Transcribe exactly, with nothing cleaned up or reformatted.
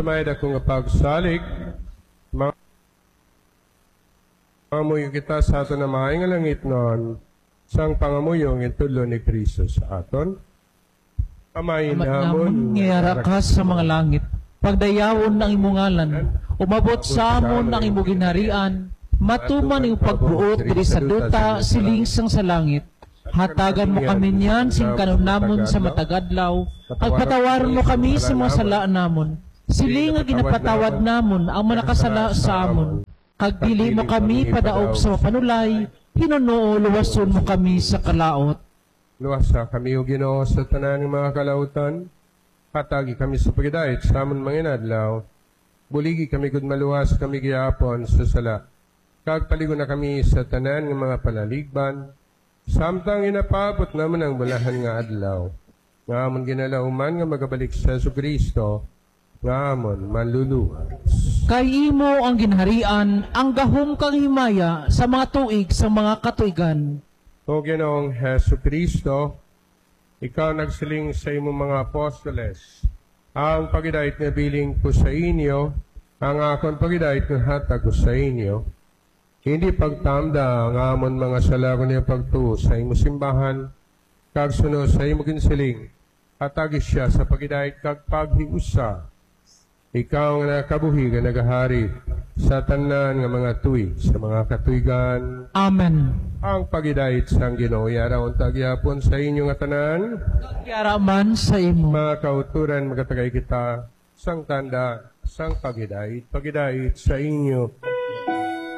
May dako nga pagsalig, ma-, mangamuyo kita sa aton Amay nga langitnon, sang pangamuyo nga gintudlo ni Cristo sa aton. Amay Ama namon namon nga yara ka sa mga langit, pagdayawon ang imong ngalan, umabot sa amon ang imong ginharian, matuman ang imong pagbuot diri sa duta siling sang sa langit. Hatagan mo kami niyan sing kanon namon sa matag adlaw, ag patawaron mo kami sa mga sala namon, siling nga ginapatawad namon ang mga nakasala sa amon. Kag dili mo kami padaog sa mapanulay, hinunoo luwason mo kami sa kalaot. Luwasa kami, O Ginoo, sa tanan nga mga kalautan. Hatagi kami sa pagidait sa amon mga inadlaw. Buligi kami gud maluwas kami gihapon sa sala. Kag paligo na kami sa tanan nga mga palaligban, samtang ginapaabot namon ang bulahan nga adlaw, nga amon ginalauman nga magabalik si Jesu-Cristo, nga amon manluluwas. Kay imo ang ginharian, ang gahom kag himaya sa mga tuig sa mga katuigan. O Ginoong Jesu-Cristo, ikaw nagsiling sa imong mga apostoles, "Ang pagidait nga bilin ko sa inyo, ang akon pagidait nga hatag ko sa inyo." Hindi pagtamda ang amon mga sala, kundi ang pagtuo sa imo simbahan, kag suno sa imo ginsiling, hatagi siya sa pagidait kag paghiusa. Ikaw nga nakabuhi kag nagahari sa tanan nga mga tuig sa mga katuigan. Amen. Ang pagidait sang Ginoo yara unta gihapon sa inyo nga tanan. Yara man sa imo. Mga kauturan, magatagay kita sang tanda sang pagidait. Pagidait sa inyo.